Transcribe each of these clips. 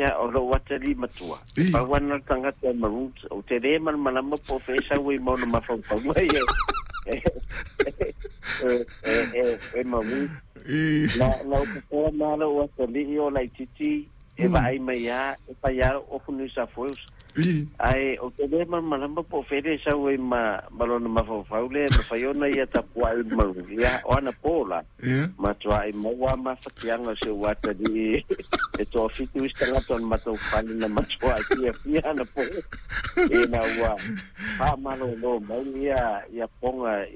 Aisea o lou atalii matua. Pau ana le tagata e Maroons, ou te le malamalama po o fea e sau ai ma ona mafaufauga ia e Maroons. Na ou popoa ma lou atalii o laitiiti e vaai mai lava e fai lava lou ofu New South Wales. Ae ou te le malamalama po o fea e sau ai ma lona mafaufau lea e mafai ona ia tapuai i le Maroons. Ia, o anapo la, matuai maua mafatiaga o si ou atalii e toafitu isi tagata o le matou fale na matuai fiafia anapo ina ua faamalolo mai ia poga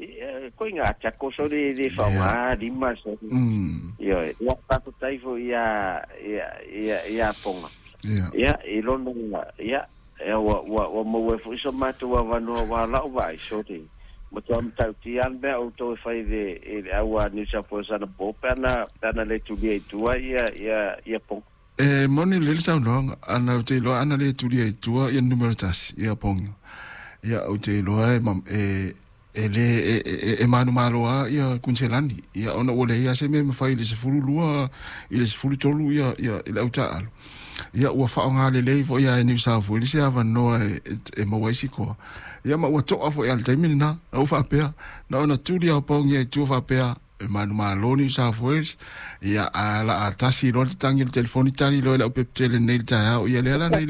koiga tiako soli e le faaaoga lima soli. Ioe, ia faafetai foi ia poga. Ia i lona ia ua maua ai foi so matou avanoa aua o lau vaai soli matua matautia lava le mea a outou e fai i le au a New South Wales anapo pe ana le tulia i tua ia poga. E moni lelei le saunoaga, ana ou te iloa ana le tulia i tua ia numera tasi ia poga. Ia ou te iloa e le e manumalo lava ia Kuniselani, ia ona ua leai lava se mea e mafai i le 12 i le 13 ia le au taaalo. Ia ua faaaoga lelei foi lava e New South Wales se avanoa e maua ai sikoa. Ia ma ua toa foi lava i le taimi lena, na ou faapea, na ona tuli lava o Pongi i tua faapea, e manumalo New South Wales, ia a la a tasi loa le tatagi o le telefoni tali loa i lau pepa tele nei i le taeao, ia lea la na i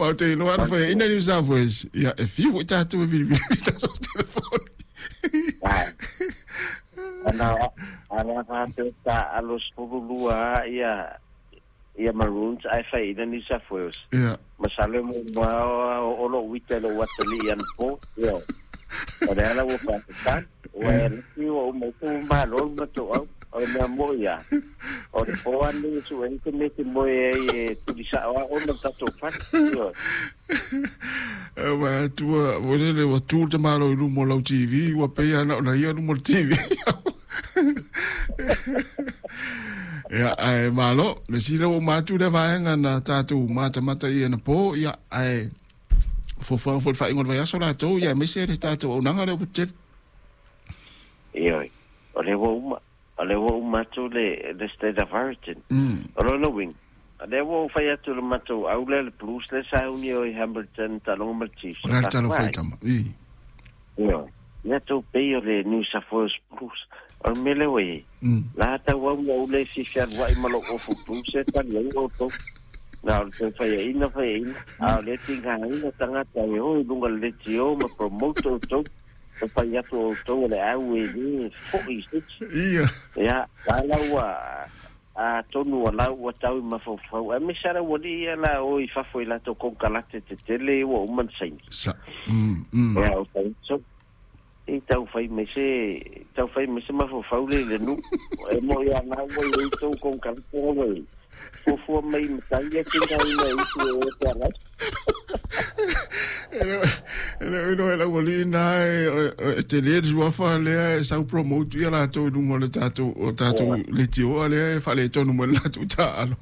Aua ou te iloa ana faiaina New South Wales, ia e fiu foi tatou e vilivili i tatou telefoni. Ana faapea taaalo 12 lava ia Maroons ae faiaina New South Wales. Masalo e muamua oo lou uita i lou atalii anapo. Ioe. O le ala ua faafetai. Ua e laki ua uma ai tou malo le matou au. O le mea moni lava, o le po lava lenei e sue ai se mea e te moe ai e tuli sao lava oe ma le tatou fale. Ioe. Ua tua, foi lele, ua tu le tamaloa i luma o lau TV, ua pei lava na ona ia luma o le TV. Ia, ae malo, le sila ua uma atu lea vaega na tatou matamata i anapo, ia, ae fuafuaga foi i le faaiuga o le vaiaso latou, ia, aemaise le tatou auaunaga lea ua tele. Ioe, o lea ua uma, o lea ua uma atu le State of Origin. O lona uiga, o lea ua ou fai atu i le matou au lea, le Blues lea sa uni o i Hamilton, taaloga ma le Chiefs. O le a le tala o Faitama? I. Ioe, ia tou pei o le New South Wales Blues. O le mea lea ua i ai, la tau au ua ou le fia fealuai ma lou ofu Blues e tali ai outou. Na o le toe faiaina, faiaina, a o lea tigaina tagata e o i luga o le leitio ma promote outou. E fai atu outou o le au e le foi i se isi. Ia, la la ua atonu ua lau ua tau i mafaufau, aemaise lava le aualii ia la o i fafo i latou konekarate tetele ua uma ona saini. Sa. Mm, mm. Ia, o fai so, i tau fai mai se, tau fai mai se mafaufau le i le nuu. E moi a na ua i ai tou konekarate ua i. Fuafua mai i matai ia tingaina e usu e o te agai. E le o iloa e le aualii na e tele le suafa lea e sau promote ia latou i luga o le tatou o tatou leitioa lea e faaletonu mai le latou taaalo.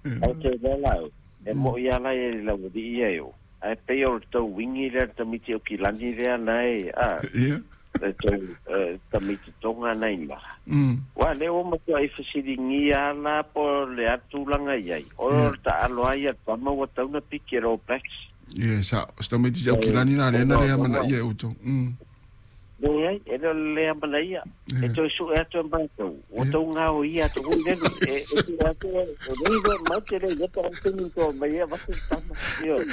Ae te iloa la au, e moi lava la i le aualii ia e o. Ae pei o le tou wingi lea le tamaiti o Kilani lea na e, a, le tou tamaiti Tonga na ina. Ua lea ua matuai fesiligia lava la po o le a tulaga i ai. O le taalo lava ia le tama ua tau na piki e le All Blacks. Ia, sa, o se tamaiti au Kilani la lea na le amanaia e outou. Leai, e le o le le amanaia. E toe sue atu e matou, ua tou gaoia atu foi le nuu. E sue atu e le iloa matou te le iloa po o a taimi na toa mai ai avatu le tama. Ioe.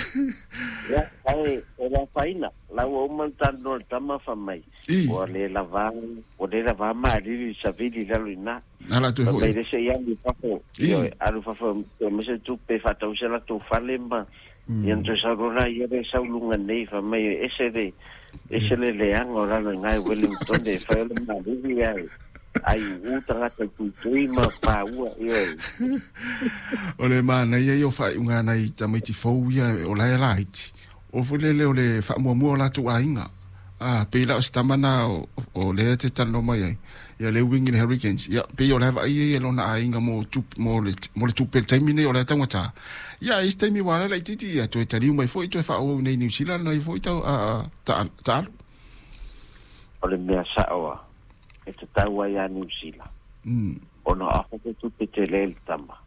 Ia, ae e le afaina, la ua uma ona talanoa le tama fai mai, ua le lava, ua le lava malili le savili i lalo i ina. Na la toe Fai foi. mai le se i alu i fafo, ioe, alu i fafo e aumai se tupe e faatau se latou fale ma Ia na toe sau loa la ia lea e sau i luga nei, fai mai e ese le, ese le leaga o lalo i ina i Wellington e fai o le malili ae ai uu tagata i tuitui ma paua, ioe. O le manaia ia o faaiuga a nai tamaiti fou ia o la e laiti, o foi lele o le faamuamua o latou aiga. A, pei la o se tama na o lea te talanoa mai ai, ia le uiga i le Hurricanes, ia pei o la e vaai ia i lona aiga mo tupe, mo le, mo le tupe i le taimi nei o la e taugata. Ia, a i se taimi ua ala laitiiti, ia toe taliu mai foi, toe faaauau i inei i Niu Sila lana ia foi tau, a, a, ta, taaalo. O le mea sao a, e tatau ai a Niu Sila, ona o afa se tupe tele le tama.